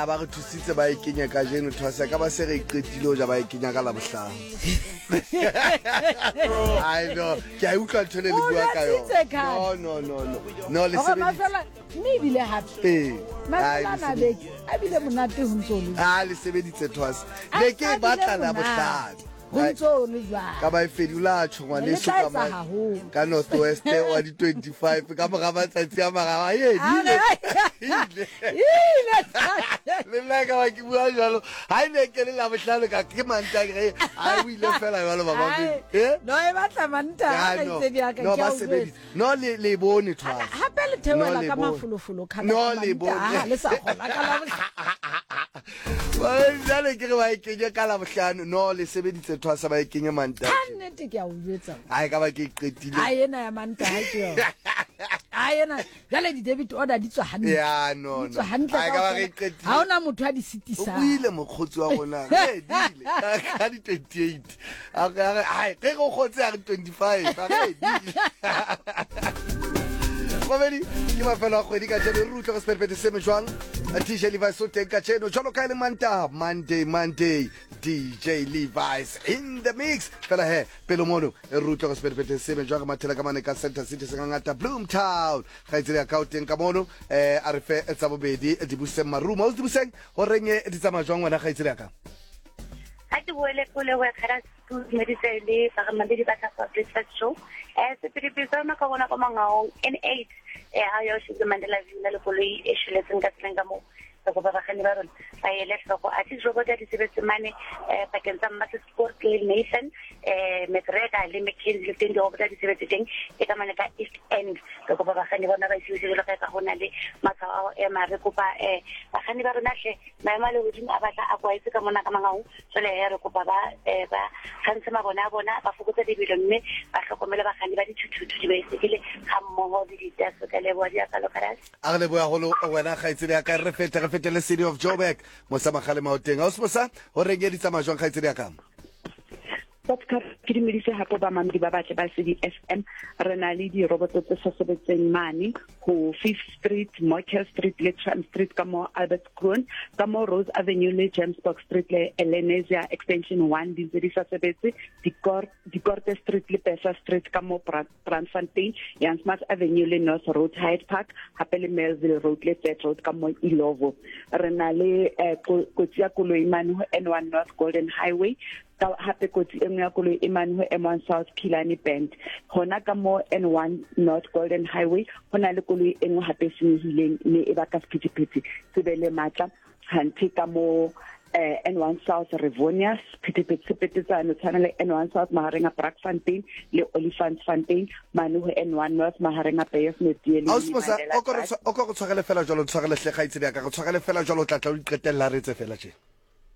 Ya ba re thusitse ba e kenya kajeno thwasa ka ba se re e qetile ho ja ba e kenya ka Labohlano. I know. Ke a utlwa ntho le le bua ka yona. No no no no. No le sebeditse. Mme ebile hape. Eh. Mafelo a mabedi a bile monate ho ntso le. Ah le sebeditse thwasa. Ne ke e batla Labohlano. Ho ntso ho le jwalo. Ka ba e fedi o la tjho ngwaneso ka ma ka North West wa di 25 ka mora matsatsi a mararo a ye ile. Ile. Le nna ka ba ke bua jwalo. Ha e ne ke le Labohlano ka ke Mantaha ke re ha o ile fela jwalo baba me. Eh? No e batla Mantaha ka itse di ka. No ba sebeditse. No le le bone thwasa. Hape le theohela ka mafolofolo khala. No le bone. Le sa kgola ka Labohlano. Jwale ke re ba e kenye ka Labohlano. No le sebeditse thwasa ba e kenye Mantaha. Ka nnete ke a o jwetsa. Ha e ka ba ke e qetile. Ha ena ya Mantaha ke yona. Ha ena jwale di debit order di tswa hantle. Ya no no. Di tswa hantle. Ha e ka ba re e qetile. Ha ona motho a di sitisang. O buile mokgotsi wa rona. Re dile ka di 28. A re a re ai ge go kgotse a re 25 a re dile. Mamedi ke mafelo a kgwedi kajeno re utlwe go sephethephethe se jwang DJ Levi's o teng kajeno jwalo ka e le Mantaha Monday Monday DJ Levi's in the mix fela he pele mono re utlwe go sephethephethe se jwang re mathela ka mane ka Center City sengangata Bloomtown kgaitsedi ya ka o teng ka mono eh a re fe tsa bobedi Dibuseng Marumo o Dibuseng go reng di tsamaya jwang wena kgaitsedi ya ka Ga ke boele kole go kgara ke dumedise le bagamamedi ba tla breakfast show. Eh sepidipidi sa rona ka bona kwa Mangaung N8 eh ha yo shebile Mandela View na le koloi e shweletseng ka tseleng ka moo. Re kopa bakganni ba rona ba ele hloko. Athe dirobot di sebetse mane eh pakeng tsa Mmasesport le Nathan eh McGregor le McKenzie le teng dirobot di sebetse teng e ka mane ka East End. Re kopa bakganni bona ba isiwe jwalo ka ka ho na le matshwao a ho ema. Re kopa eh bakganni ba rona hle Maemo a lehodimo a batla a kwaetse ka mona ka Mangaung, jwale he re kopa ba eh, ba kgantshe mabone a bona, ba fokotse lebelo mme ba hlokomele bakganni ba dithuthuthu, dibaesekele ga mmogo le ditase. Ka leboha diakalo Karase. A re lebohe haholo wena kgaitsedi ya ka. Re fete re fete le City of Joburg. Mosa Magale Maoteng. Ausi Mosa, ho reng e di tsamaya jwang kgaitsedi ya ka? Podcast ke dumedise hape bamamedi ba batle ba CD FM re na le diroboto tse sa sebetseng mane ho Fifth Street, Morkel Street le Tram Street ka mo Albert Kroon, ka mo Rose Avenue le Jamesburg Street le Elenesia Extension 1 di ntse di sa sebetse, Dikorte Street le Pesa Street ka mo Brandfontein, Jan Smuts Avenue le North Road Hyde Park, hape le Melville Road le Third Road ka mo Ilovo. Re na le eh, kotsi ya koloi mane ho N1 North Golden Highway Ka hape kotsi e nngwe ya koloi e mane ho M1 South Killarney Bend. Hona ka mo N1 North Golden Highway ho na le koloi e nngwe hape e senyehileng mme e baka sephethephethe se be le matla. Hanthe ka mo eh, N1 South Rivonia sephethephethe se petetsane tshwana le N1 South mahareng a Brakfontein le Olifantsfontein mane ho N1 North mahareng a Beyers Naudé le Ausi Mosa, o ko re o ko re tshwarele fela jwalo, ntshwarele hle kgaitsedi ya ka, re tshwarele fela jwalo, o tla tla o iqetella re etse fela tje.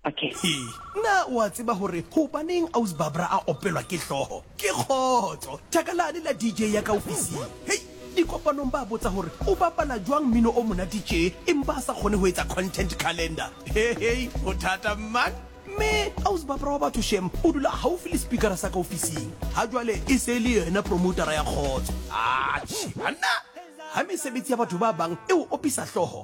Okay. Hee, na o a tseba gore gobaneng Aus Barbara a opelwa ke hlogo? Ke kgotso! Thaka lane la DJ ya ka ofising. Hei, dikopanong ba botsa gore o bapala jwang mmino o monate tše empa a sa kgone go etsa content calendar. Hehei, go thata man! Mme Aus Barbara wa batho shem o dula gaufi le speakera sa ka ofising. Ga jwale e se e le yena promotara ya kgotso. Atjhe banna! Ha mesebetsi ya batho ba bang e o opisa hlogo.